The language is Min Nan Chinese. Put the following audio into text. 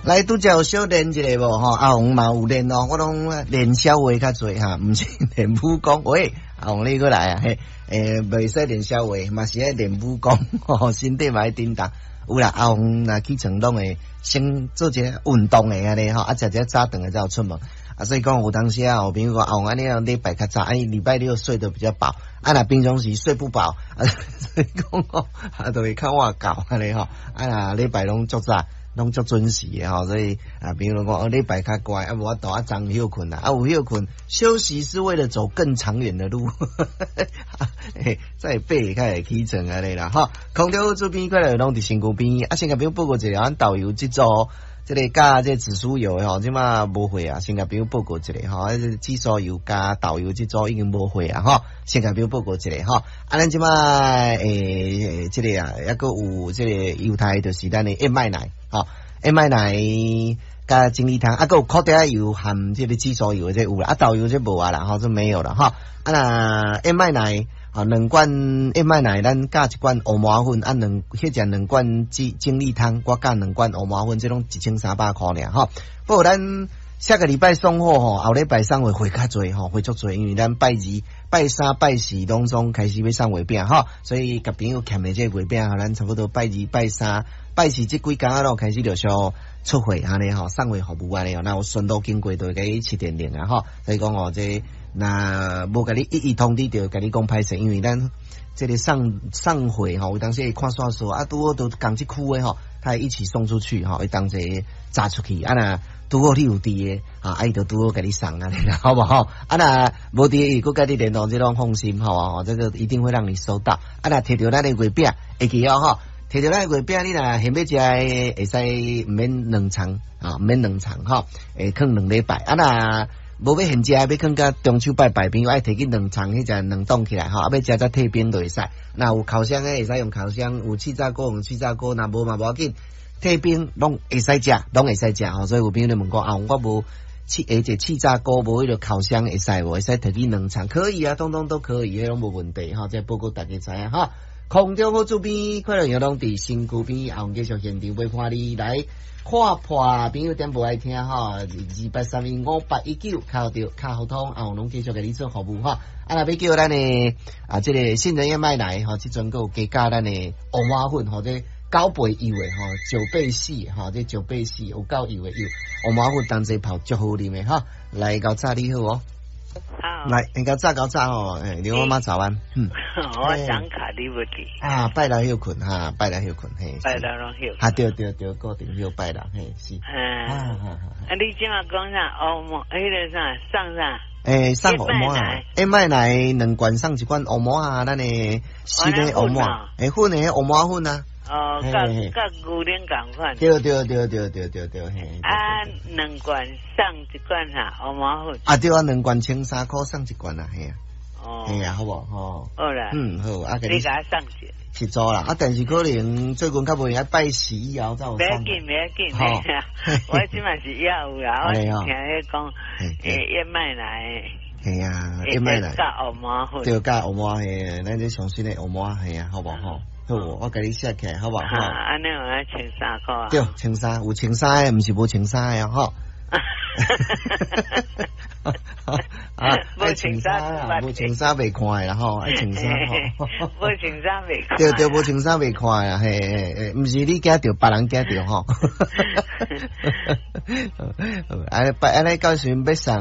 來拄才有小練一下無吼？阿紅嘛有練哦，我攏練痟話較濟哈，毋是練武功。喂，阿紅你閣來啊？嘿，袂使練痟話，嘛是愛練武功，吼，身體嘛愛振動。有啦，阿紅若起床攏會先做一個運動的按呢吼，啊，食一早頓的才有出門。啊，所以講有當時啊，有朋友講阿紅按呢禮拜較早，啊，禮拜六睡得比較飽，啊，若平常時睡不飽，啊，所以講吼，啊，就會較晏到按呢吼，啊，若禮拜攏足早，攏足準時的吼，所以啊，比如講哦，禮拜較乖，啊，無法度啊，早歇睏啦，啊，有歇睏，休息是為了走更長遠的路，嘿，再爬較會起床按呢啦，吼。空中這邊過來攏佇身軀邊，啊，先共朋友報告一下，阮豆油這組，這個佮這個紫蘇油的吼，這馬無貨啊，先共朋友報告一下吼，啊，這個紫蘇油佮豆油這組已經無貨啊，吼，先共朋友報告一下吼。啊，咱這馬這個啊，猶閣有這個猶太，就是咱的燕麥奶，吼，燕麥奶佮精力湯，啊，閣有苦茶油含這個紫蘇油的這有啦，啊，豆油這無啊啦，吼，這沒有了吼。啊，若燕麥奶，吼，兩罐燕麥奶，咱加一罐烏麻粉，啊，兩彼隻兩罐精力湯，我加兩罐烏麻粉，這攏1300箍爾吼。不過咱下個禮拜送貨吼，後禮拜送貨會較濟吼，會足濟，因為咱拜二、拜三、拜四攏總開始欲送月餅吼，所以共朋友欠的這個月餅吼，咱差不多拜二、拜三、拜四這幾工仔攏開始陸續出貨按呢吼，送貨服務按呢，若有順路經過就會共你市電鈴啊吼，所以講哦，這若無共你一一通知著，共你講歹勢，因為咱這個送送貨吼，有當時會看煞數啊，拄好都仝這區的吼，他會一起送出去吼，會同齊紮出去啊若拄好你有佇的啊，伊就拄好共你送按呢啦，好無吼？啊若無佇，伊閣共你聯絡，這攏放心吼，這個一定會讓你收到。啊若提著咱的月餅，會記哦吼，提著咱的月餅，你若現欲食的，會使毋免兩層啊，毋免兩層吼，會囥2禮拜。啊若無欲現食，欲囥到中秋拜拜，朋友愛提去冷藏，彼隻冷凍起來吼，啊欲食才退冰就會使。若有烤箱的會使用烤箱，有氣炸鍋用氣炸鍋，若無嘛無要緊，退冰攏會使食，攏會使食吼。所以有朋友咧問講啊，我無氣，這氣炸鍋，無彼個烤箱會使無？會使提去冷藏？可以啊，通通都可以，彼攏無問題吼。這報告大家知影吼。空中好這邊快樂營攏佇身軀邊，後繼續現場陪伴你來看破朋友點播愛聽吼，28315819敲著較好通，後攏繼續共你做服務吼。啊，若欲叫咱的啊，這個杏仁燕麥奶吼，這陣閣有加加咱的烏麻粉吼，這9倍油的吼，9倍4吼，這九倍四有夠油的油，烏麻粉同齊泡足好啉的吼。來𠢕早你好哦。好，來，𠢕早𠢕早吼，欸，劉媽媽早安。嗯，我張卡你無佇。啊，拜六歇睏哈，拜六歇睏嘿。拜六攏歇。啊，對對對，固定歇拜六嘿是。嗯。啊，你這馬講啥？烏麻，彼個啥送啥？欸，送烏麻，燕麥奶兩罐送一罐烏麻啊，咱的新的烏麻，欸，粉的烏麻粉啊。哦，佮佮牛奶仝款。對對對對對對對嘿。啊，兩罐送一罐哈，烏麻粉。啊對啊，兩罐13塊送一罐啊，嘿啊。哦。嘿啊，好無吼。好啦。嗯，好，啊，你共我送一。一組啦，啊，但是可能最近較無閒，拜四以後才有送。袂要緊，袂要緊，我這馬是猶有啦，我是聽彼講，欸，燕麥奶。嘿啊，燕麥奶。佮烏麻粉。對，佮烏麻嘿，咱這上新的烏麻嘿啊，好無吼？好，我共你寫起來，好無？哈，按呢有13塊啊。對，千三有千三的，毋是無穿衫的吼。啊，無穿衫啊，無穿衫袂看的啦吼，愛穿衫吼。無穿衫袂看。對對，無穿衫袂看啊，嘿嘿嘿，毋是你驚著，別人驚著吼。按呢拜按呢到時陣欲送。